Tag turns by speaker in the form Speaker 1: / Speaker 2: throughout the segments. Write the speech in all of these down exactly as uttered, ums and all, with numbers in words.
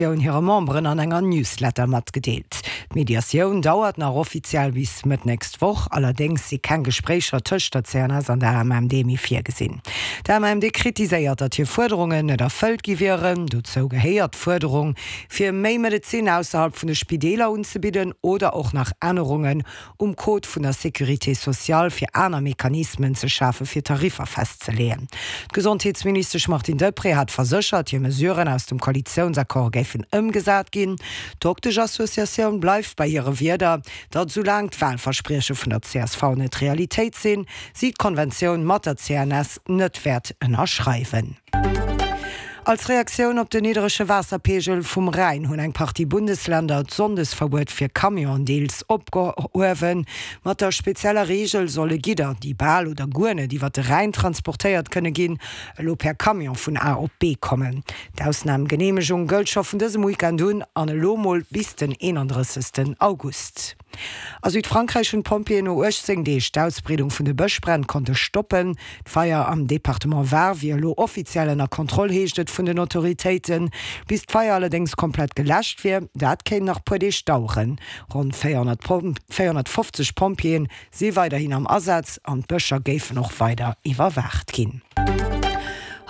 Speaker 1: hire Memberen an enger Newsletter matgedeelt. D'Mediatioun dauert nach offiziell bis Mëtt nächst Woch, allerdéngs si keng Gespréicher tëscht der C N S an der A M M D méi virgesinn. D'A M M D kritiséiert, datt hir Fuerderungen net erfëllt gi wieren. Dozou gehéiert d'Fuerderung, fir méi Medezin ausserhalb vun de Spideeler unzebidden oder och nach Ännerungen um Code vun der Sécurité sociale, fir aner Mechanismen ze schafe fir Tariffer festzeleeën. D'Gesondheetsministesch Martine Deprez hat verséchert, hir Mesuren aus dem Koalitiounsaccord géifen ëmgesat ginn. D'Dokteschassociatioun bleift bei hire Wierder, datt soulaang d'Walversprieche vun der C S V net Realitéit sinn, si d'Konventioun mat der C N S net wäert ënnerschreiwen. Als Reaktioun op den niddrege Waasserpeegel vum Rhäin hunn eng Partie Bundeslänner d'Sonndesverbuet fir Camionen deels opgehuewen. Mat der spezieller Reegel solle Gidder, déi bal oder guer net iwwer de Rhäin transportéiert kënne ginn, elo per Camion vun A op B kommen. D'Ausnamgeneemegung gëllt scho vun dësem Weekend un an elo mol bis den eenandrëssegsten August. A Südfrankräich hunn d'Pompjeeën no uechtzéng Deeg d'Ausbreedung vun de Bëschbränn konnte stoppen. D'Feier am Departement Var wier elo offiziell ënner Kontroll, heescht et vun den Autoritéiten. Bis d'Feier allerdéngs komplett geläscht wier, dat kéint nach puer Deeg daueren. Ronn véierhonnertfofzeg Pompjeeën si weiderhin am Asaz an d'Bëscher géifen och weider iwwerwaacht ginn.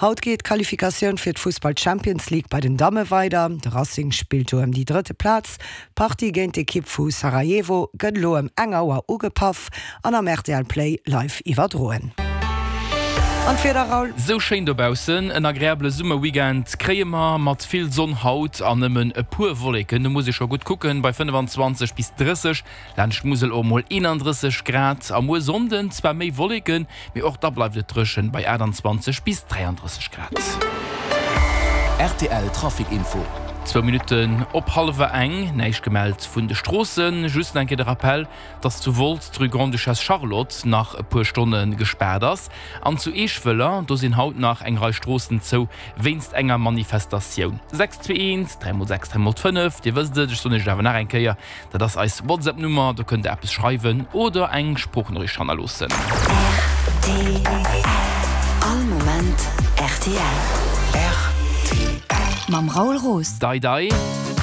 Speaker 1: Haut geet d'Qualifikatioun fir d'Fussball-Champions League bei den Damme weider. De Racing spillt do ëm déi drëtte Plaz. D'Partie géint d'Ekipp vu Sarajevo gëtt elo ëm eng Auer ugepaff an am R T L Play live iwwerdroen. An d'Wieder, Raoul?
Speaker 2: Sou schéin dobaussen, en agreabele Summerweekend kréie mer mat vill Sonn haut an nëmmen e puer Wolleken. Do muss ee scho gutt kucken, bei fënnefenzwanzeg bis drësseg, laanscht d'Musel och mol eenandrësseg Grad. A muer Sonnden zwar méi Wolleken, mee och da bleift et dréchen bei aachtanzwanzeg bis dräiandrësseg Grad.
Speaker 3: R T L Trafic Info.
Speaker 2: Zwou Minutten op hallwer eng, näischt gemellt vun de Stroossen. Just eng Kéier de Rappell, dass zu Wolz d'Rue Grande-Duchesse Charlotte nach e puer Stonne gespaart ass. An zu Eeschwëller, do sinn haut nach eng Rei Stroossen zou wéinst enger Manifestatioun. sechs zwee eent, dräi mol sechs, dräi mol fënnef, Dir wësst et, ech soen iech et awer nach eng Kéier, dat ass eis WhatsApp-Nummer, do kënnt der eppes schreiwen oder eng Sproochnoriicht hannerloossen.
Speaker 4: R T L. All Moment R T L.
Speaker 3: R T L.
Speaker 4: Mam Raoul Roos.
Speaker 2: Dai Dai,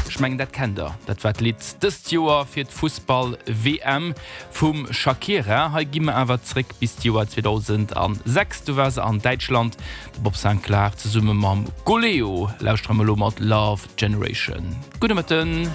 Speaker 2: ech mengen dat kennt der. Dat war d'Lidd dëst Joer fir d'Fussball-W M vum Shakira. Hei gi mer awer zréck bis d'Joer zweedausendasechs, do war se an Däitschland, de Bob Sinclar zesumme mam Goleo. Lauschtere mer elo mat Love Generation. Gudde Mëtten.